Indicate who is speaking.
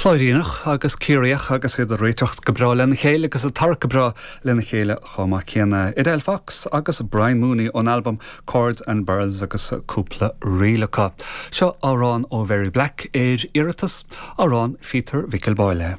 Speaker 1: Cláiríneach agus Ciarraíoch agus iad ag réiteach go breá lena chéile agus ag tarrac go breá lena chéile chomh maith céanna. Edel Fox agus Brian Mooney ón albam Chords and Barrels agus cúpla ríl acu. Seo amhrán ó Mhary Black ar iarratas, amhrán Phíotair Mhicil Báille.